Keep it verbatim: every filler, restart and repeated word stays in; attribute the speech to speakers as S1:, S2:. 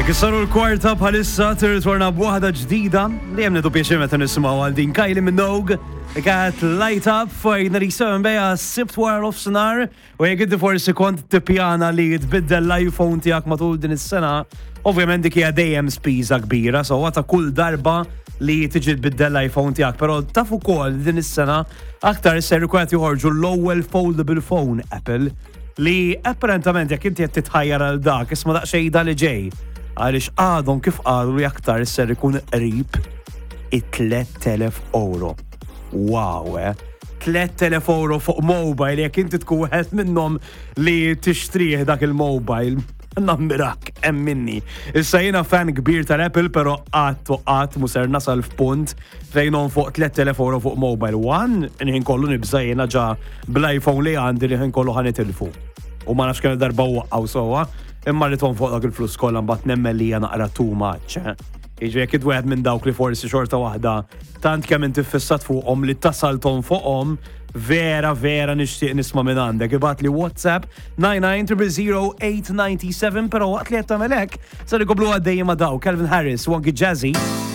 S1: Hekk saru l-kwarta bħalissa, tirritorna b'waħda ġdida li hemm nieħdu pjaċir meta nisimgħu għal din, Kylie Minogue kat Light Up fuq ninety-seven beja Sibt wara nofsinhar. U jekk inti forsi kont tippjana li tbiddel l-iPhone tiegħek matul din is-sena, ovvjament dik hija dejjem spiża kbira, so ta' kull darba li tiġi tbiddel l-iPhone tiegħek, però taf ukoll din is-sena aktar ser ikun qed joħorġu l-ewwel foldable phone Apple, li apparentament jekk inti qed titħajjar għal dak, isma' daqsxejn da li ġej, għaliex għadhom kif qalu li aktar ser ikun qrib it-tliet elef euro. Wow, eh? tliet elef euro fuq mobile, jekk inti tkun wieħed minnhom li tixtrih dak il-mobile, nammirak, emminni. Issa jiena fan kbir tal-Apple, pero qatt u qatt mu ser nasal f'punt fejn fuq tliet elef euro fuq mobile. One, nħin kollu nibża jiena ġa bl-iPhone li għandi li ħin kollu ħa nitilfu. U ma nafx kemm darba waqqaw sowa, imma li fuq dak il-flus kollha mbagħad nemmen li hija naqra too much. Eh? Jiġri jekk wieħed minn dawk li forsi xorta waħda tant kemm inti fissat fuqhom li tasaltom fuqhom, vera vera nixtieq nisma' minn għandek. Ibgħatli WhatsApp nine nine zero zero eight nine seven, però waqt li qed tagħmel hekk ser ikomplu għaddejjin ma' daw Calvin Harris u anki Jazzy.